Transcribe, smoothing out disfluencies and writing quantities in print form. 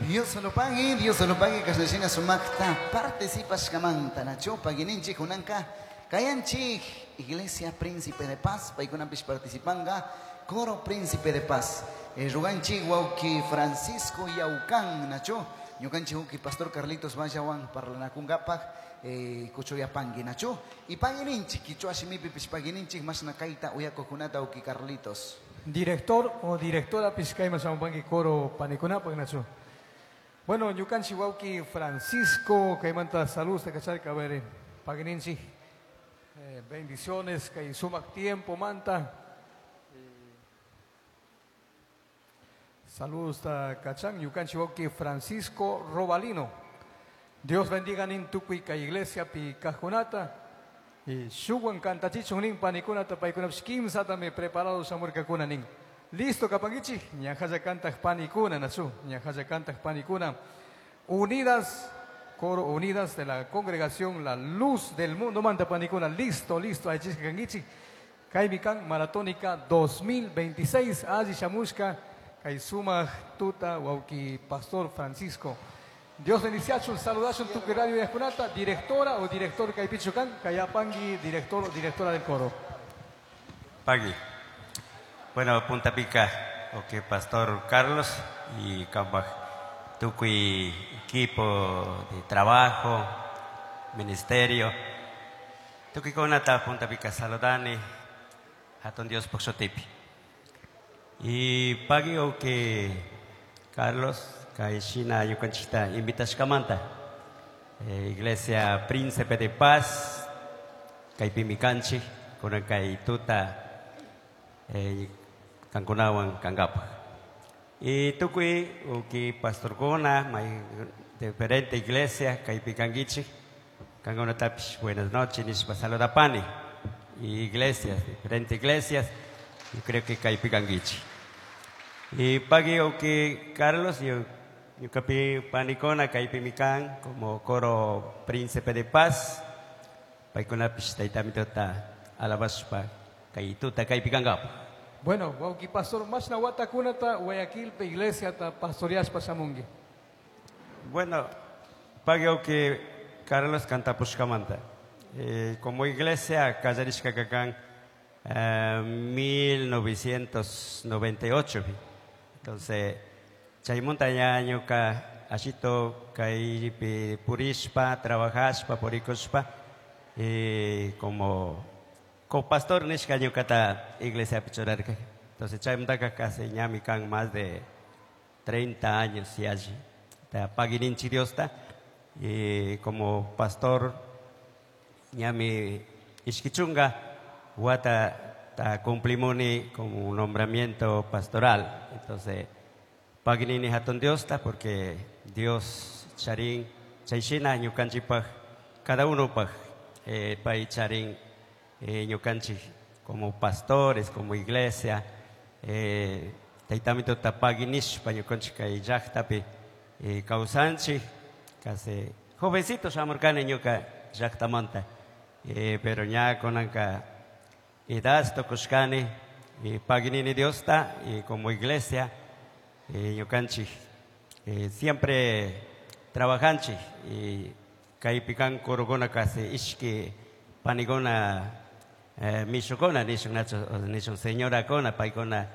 Dios lo pague, kashnashina sumakta participashkamanta nachu pagininchik kunanka kayanchik Iglesia Príncipe de Paz, paykunapish participanga Coro Príncipe de Paz. Ruganchik wawki Francisco Yaucan nachu ñukanchik wawki Pastor Carlitos Vallawan parlanakunkapaj kuchuyapanki nachu y pagininchik kichwa shimipipish pagininchik mashna kayta uyakuqkunata wawki Carlitos. Director o directora pishkayman shamupanki coro panikunapaj nachu. Bueno, ñukanchik wawki Francisco kaymanta saludos kacharka, a ver, pagininchik, bendiciones kay sumak tiempo manta. Saludos ta kachan ñukanchik wawki Francisco Robalino. Dios bendiga nin tukuy kay iglesia pi kajkunata. Y shuwan kantachichun nin panikunata paykunapish kimsatami preparado shamurkakuna nin. Listo kapankichik, ñajalla kantaq panikuna nachu, ñajalla kantaq panikuna. Unidas, coro Unidas de la congregación La Luz del Mundo manta panikuna. Listo, listo, aychisqa kankichik. Kaymi kan Maratónica 2026, alli shamushka, kay sumaq tuta wawki Pastor Francisco. Dios bendiciachun, saludachun tukuy radio yajkunata, directora o director kaypichu kan, kayapangi director o directora del coro. Pagui. Bueno, Punta Pica, ok, Pastor Carlos y Cambaj, tukuy equipo de trabajo, ministerio, tukuy kunata Punta Pica saludani, hatun Dios pukshutipi. Y pagui, ok, Carlos, kay shina ñukanchikta invitashkamanta, Iglesia Príncipe de Paz, kaypimi kanchik, kunan kay tuta, kankunawan kankapaj. Y tukuy uki pastorkuna, may diferente iglesia, kaypi kankichik, kankunatapish buenas noches nishpa saludapani. Y iglesias, diferentes iglesias, yo creo que kaypi kankichik. Y pagui uki Carlos, yo ñukapi panikuna kaypimi kan, como coro Príncipe de Paz, paykunapish taytamituta alabashpa kay tuta kaypi kankapaj. Bueno, wawki pastor, mashna watakunata Guayaquilpi iglesiata pastoreashpa shamunki. Bueno, pagui wawki Carlos kantapushkamanta. Como iglesia kallarishka kan, 1998. Entonces, chaymunta ña ñuka ashito kaypi purishpa, trabajashpa, purikushpa, como copastor nishka ñukata iglesia churarka. Entonces, chaymuntaka casi ñami kan más de 30 años y allí. Ta pagininchi Diosta, y como pastor ñami ishkichunga wata ta cumplimoni como un nombramiento pastoral. Entonces, paginini hatun Diosta porque Dios charin chayshina ñukanchipaj cada uno paj, pay charin, ñukanchik como pastores, como iglesia, taytamito tapaginishpa ñukanchik kay llaqtapi, kawsanchik, casi jovencito shamurkani ñuka llaqtamanta, pero ña kunanka edad tukushkani, y paginini Diosta, y como iglesia, ñukanchik, siempre trabajanchik, y kaypi kan corogona casi ishki panigona, mishukuna nishun nacho, nishun señorakuna, paykuna